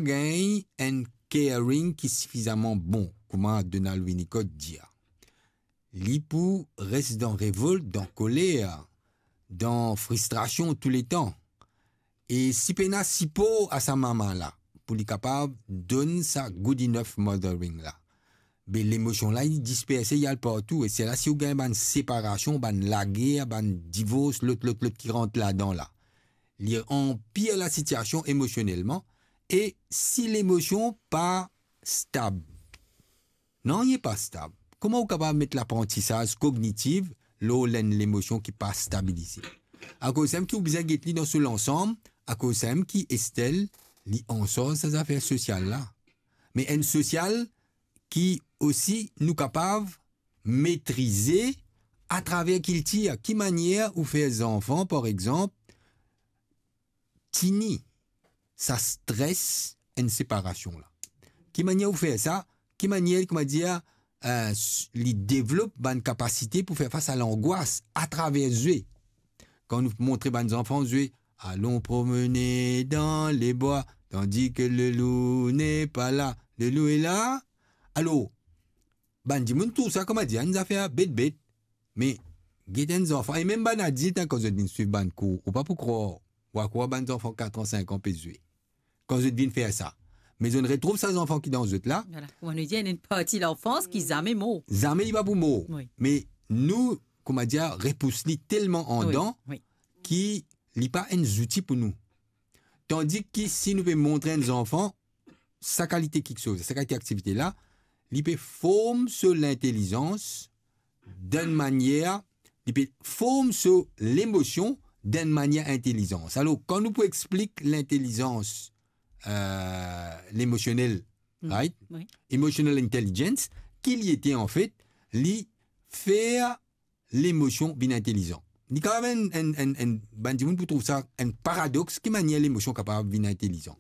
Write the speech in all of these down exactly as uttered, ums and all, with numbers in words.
gagn enn caring ki sifizaman bon, kouma Donald Winnicott dir. Li pou res dan revolt, dan koler, dan fristrasion touletan. E si pena sipor a sa mama la, pou li kapav donn sa good enough mothering la, be lemosion la, li disperse, li al partou. E se la, si ou gagn bann separasion, bann lager, bann divors, lot, lot, lot ki rant ladan la, li anpir lasitiasion emosionelman. E si lemosion pa stab, nanye pa stab, kouma ou kapav met laprantisaz kognitif lor enn lemosion ki pa stabilize? Akoz samem ki ou bizin get li dan so lansam, akoz samem ki Estelle, li ansarz sa zafer sosial la. Me enn sosial ki osi nou kapav metrize atraver kiltir. Ki manier ou fer zanfan, par exanp, tini sa stres enn separasion la? Ki manier ou fer sa? Ki manier, kouma dir, eh, s-, li devlop bann kapasite pou fer fas a langwas atraver zwe? Kan nou montre bann zanfan zwe, allons promener dans les bois, tandis que le loup n'est pas là, le loup est là. Alor, bann dimoun trouv sa, kouma dir, enn zafer bet-bet. Me get enn zanfan, e mem bann adilt, hein, kan zot vinn swiv bann kour, ou pa pou krwar, ou a krwar bann zanfan kat an, sink an pe zwe. Kan zot vinn fer sa, me zot retrouv sa zanfan ki dan zot la. Vwala, kouma nou dir, enn parti lanfans ki zame mor. Zame li pa pou mor. Wi. Me nou, kouma dir, repous li telman andan, wi, wi, ki li pa enn zouti pou nou. Tandis ki si nou pe montre enn zanfan sa kalite kiksoz, sa kalite aktivite la, li pe form so lintelizans dan enn manier, li pe form so lemosion dan enn manier intelizan. Alor, kan nou pou explik lintelizans, eh, lemosionel, hmm, right? Wi. Emotional intelligence, ki li ete anfet, li fer lemosion vinn intelizan. Li kapav enn, enn, enn, enn, bann dimoun pou trouv sa enn paradox, ki manier lemosion kapav vinn intelizan.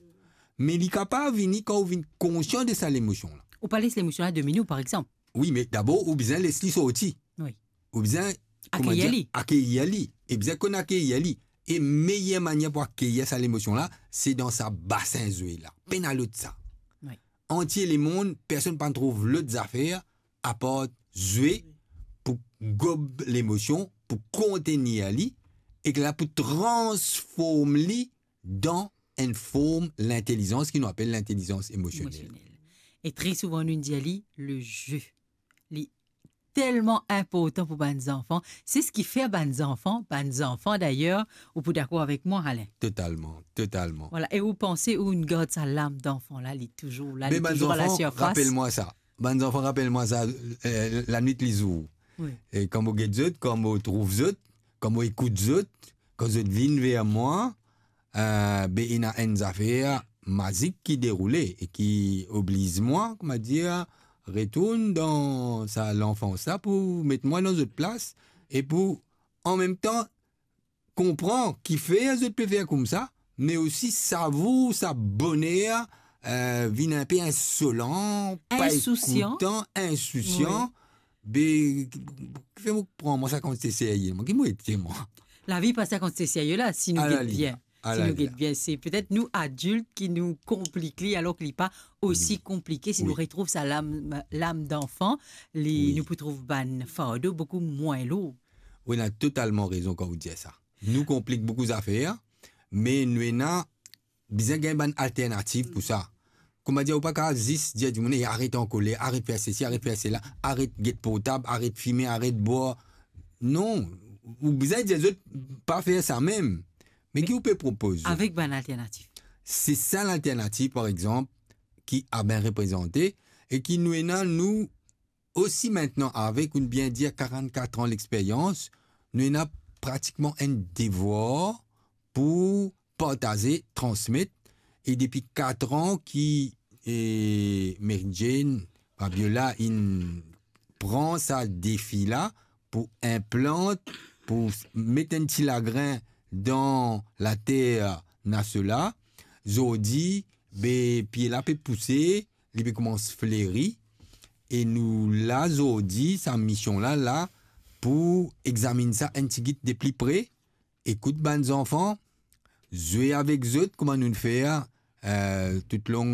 Me li kapav vini kan ou vinn konsian de sa lemosion la. Ou pa les lemosion la domine ou, par exanp. Wi, me dabor, ou bizin les li sorti. Wi. Ou bizin, kouma dir, akeir li. Akeir li. E bizin konn akeir li. E meyer manier pou akeir sa lemosion la, se dan sa basin zwe la. Pena lot sa. Wi. Antie lemonn, personn pa trouv lot zafer apar zwe pou gob lemosion, pou kontenir li, e ki la pou transform li dan enn form lintelizans ki nou apel lintelizans emosionel. Emosionel. E tre souvan nou dir li le jeu. Li telman inportan pou bann zanfan. Se seki fer bann zanfan, bann zanfan dayer, ou pou dakor avek mwa, Alain. Totalman, totalman. Vwala, e ou panse ou inn gard sa lam danfan la, li touzour la, li touzour a la sirfas. Be bann zanfan, rapel mwa sa. Bann zanfan, rapel mwa sa, eh, lanwit lizour. Wi. E kan mo get zot, kan mo trouv zot, kan mo ekout zot, kan zot vinn ver mwa, eh, be ena enn zafer mazik ki deroule e ki obliz mwa, kouma dir, retourn dan sa lanfans la pou met mwa dan zot plas e pou, an mem tan, konpran kifer zot pe fer koumsa, me osi savour sa boner, eh, vinn inpe insolan, pa ekoutan, insousyan. Wi. Be, kifer mo pran mwa sa koumsa serye, mwa, ki mo ete mwa? Lavi pa sa koumsa serye la, si nou get bien. Si nou get bien, se petet nou adilt ki nou konplik li, alor ki li pa osi konplike. Si nou retrouv sa lam, lam danfan, li, nou pou trouv bann fardo boukou mwin lour. Wi, ou ena totalman rezon kan ou dir sa. Nou konplik boukou zafer, me nou ena bizin gagn bann alternativ pou sa. Kouma dir, ou pa kapav zis dir dimoun, "Ey, aret ankoler, aret fer sesi, aret fer sela, aret get portab, aret fime, aret bwar." Non, ou bizin dir zot pa fer sa mem. Me ki ou pe propoz zot? Avek bann alternativ. Se sa lalternativ, par exanp, ki Abain reprezante e ki nou ena, nou osi, aster avek, ou bien dir, karant-kat an lexperyans, nou ena pratikman enn devwar pou partaze, transmet. E depi kat an ki, e, Mary Jane Fabiola inn pran sa defi la pou inplant, pou s-, met enn ti lagrin dan later Naso la. Zordi, be, pie la pe pouse, li pe koumans fleri, e nou la zordi, sa mision la, la pou examinn sa enn tigit de pli pre, ekout bann zanfan, zwe avek zot, kouma nou fer, euh, toutlong